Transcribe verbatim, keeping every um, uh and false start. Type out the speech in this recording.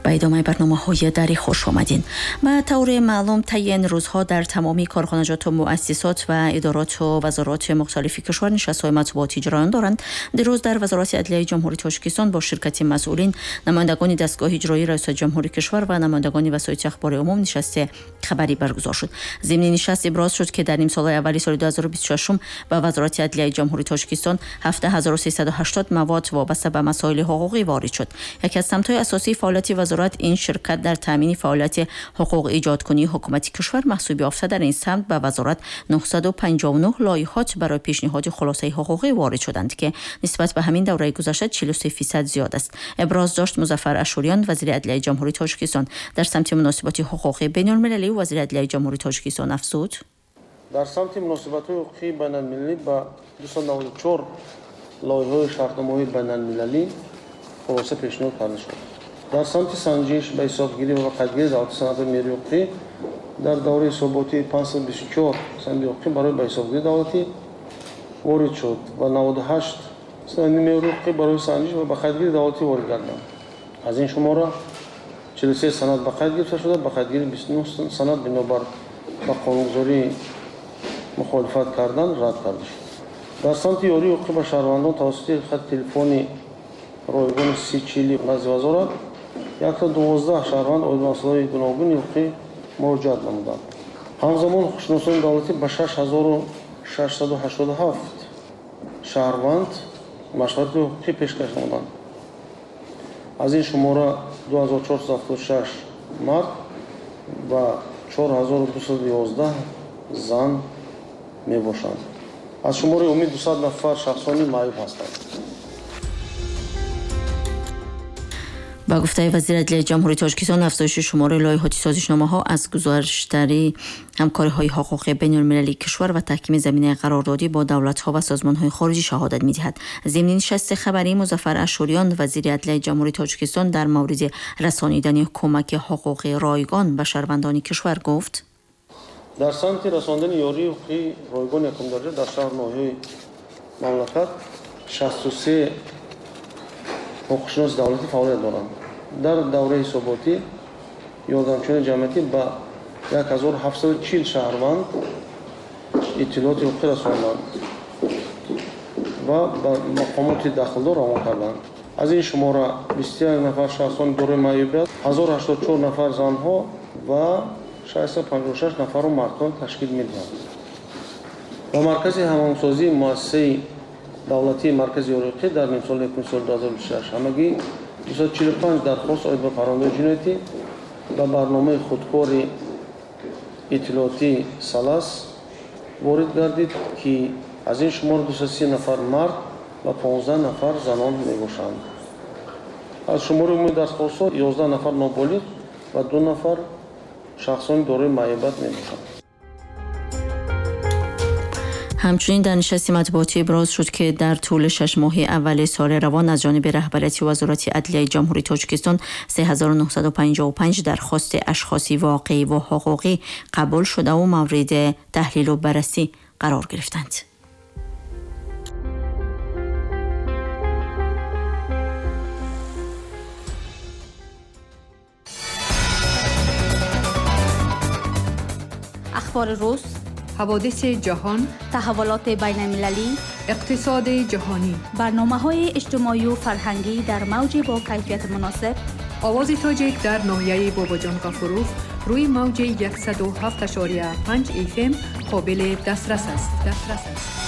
Ба идомаи барномаҳои дарӣ хуш омадин. Ба таври маълум, таи ин рӯзҳо дар тамоми корхонаҷоту муассисот ва идороту вазорати мухталифи кишвар нишастҳои матбуотӣ ҷараён доранд. Дирӯз дар Вазорати адлияи Ҷумҳурии Тоҷикистон бо ширкати масъулин, намояндагони дастгоҳи иҷроии раёсати ҷумҳури кишвар ва намояндагони васоити ахбори умум нишасти хабарӣ баргузор шуд. Зимни нишаст иброз шуд, ки дар нимсолаи аввали соли ду ҳазору бисту шашум ба Вазорати адлияи Ҷумҳурии Тоҷикистон ҳафт ҳазору сесаду ҳаштод мавод вобаста ба масоили ҳуқуқӣ ворид шуд. Яке аз самтҳои асосии фаъолияти вазорат ин ширкат дар таъмини фаъолияти ҳуқуқ эҷодкунии ҳукумати кишвар маҳсуб ёфта, дар ин самт ба вазорат нӯҳсаду панҷоҳу нӯҳ лоиҳот барои пешниҳоди хулосаи ҳуқуқӣ ворид шуданд, ки нисбат ба ҳамин давраи гузашта чилу се фисад зиёд аст. Иброз дошт Музаффар Ашуриён, вазири адлияи Ҷумҳурии Тоҷикистон. Дар самти муносиботи ҳуқуқии байналмилалӣ вазири адлияи Ҷумҳурии Тоҷикистон афзуд: дар самти муносибатҳои ҳуқуқии байналмилалӣ ба дусаду наваду чор лоиҳаҳои шартномаҳои байналмилалӣ хулоса пешниҳод карда шуд. Дар самти санҷиш, ба ҳисобгирӣ ва қайдгирии давлати санадҳои меъёрии ҳуқуқӣ дар давраи ҳисоботии панҷсаду бисту чор санади ҳуқуқӣ барои ба ҳисобгирии давлатӣ ворид шуд ва наваду ҳашт санади меъёрии ҳуқуқӣ барои санҷиш ва ба қайдгирии давлатӣ ворид гарданд. Аз ин шумора чилу се санад ба қайд гирифта шуда, ба қайдгирии бисту нӯҳ санад бинобар ба қонунгузорӣ мухолифат кардан рад карда шуд. Дар самти ёрии ҳуқуқӣ ба шаҳрвандон тавассути хати телефони ройгони си чили назди вазорат яксаду дувоздаҳ шаҳрванд оид ба масъалаҳои гуногуни ҳуқуқӣ муроҷиат намуданд. Ҳамзамон ҳуқуқшиносони давлатӣ ба шаш ҳазору шашсаду ҳаштоду ҳафт шаҳрванд машварати ҳуқуқӣ пешкаш намуданд. Аз ин шумора ду ҳазору чорсаду ҳафтоду шаш мард ва чор ҳазору дусаду ёздаҳ зан мебошанд. Аз шумори умумӣ дусад нафар шахсони маъюб ҳастанд. Ба гуфтаи вазири адлияи Ҷумҳурии Тоҷикистон, афзоиши шумори лоиҳоти созишномаҳо аз гузаштари ҳамкориҳои ҳуқуқии байналмилалии кишвар ва таҳкими заминаи қарордодӣ бо давлатҳо ва созмонҳои хориҷӣ шаҳодат медиҳад. Зимни нишасти хабарӣ Музаффар Ашуриён, вазири адлияи Ҷумҳурии Тоҷикистон, дар мавриди расонидани кӯмаки ҳуқуқии ройгон ба шаҳрвандони кишвар гуфт: дар самти расондани ёрии ҳуқуқии ройгон якумдараҷа дар шаҳру ноҳияҳои мамлакат шасту се ҳуқуқшиноси давлатӣ фаъолият доранд. Дар давраи ҳисоботӣ ёрдамчиёни ҷамъиятӣ ба як ҳазору ҳафтсаду чил шаҳрванд иттилооти ҳуқуқӣ расонданд ва ба мақомоти дахлдор равон карданд. Аз ин шумора бисту як нафар шахсони дорои маъюбият, ҳазору ҳаштоду чор нафар занҳо ва шашсаду панҷоҳу шаш нафарро мардон ташкил медиҳанд. Ба маркази ҳамоҳангсозии муассисаи давлатии маркази ёрии дар нимсоли якуми соли ду ҳазору бисту шаш ҳамагӣ дусаду чилу панҷ дархост оид ба парвандаҳои ҷиноятӣ ба барномаи худкори иттилоотии САЛАС ворид гардид, ки аз ин шумор дусаду си нафар мард ва понздаҳ нафар занон мебошанд. Аз шумори умумии дархостҳо ёздаҳ нафар ноболиғ ва ду нафар шахсони дорои маъюбият мебошанд. Ҳамчунин дар нишасти матбуотӣ иброз шуд, ки дар тӯли шаш моҳи аввали соли равон аз ҷониби раҳбарияти Вазорати адлияи Ҷумҳурии Тоҷикистон се ҳазору нӯҳсаду панҷоҳу панҷ дархости ашхоси воқеӣ ва ҳуқуқӣ қабул шудаву мавриди таҳлилу баррасӣ қарор гирифтанд. Ахбори рӯз, ҳаводиси ҷаҳон, таҳаввулоти байналмилалӣ, иқтисоди ҷаҳонӣ, барномаҳои иҷтимоию фарҳангӣ дар мавҷи бо кайфияти муносиб. Овози тоҷик дар ноҳияи Бобоҷон Ғафуров рӯи мавҷи яксаду ҳафт ашория панҷ эф эм қобили дастрас аст. Дастрас аст.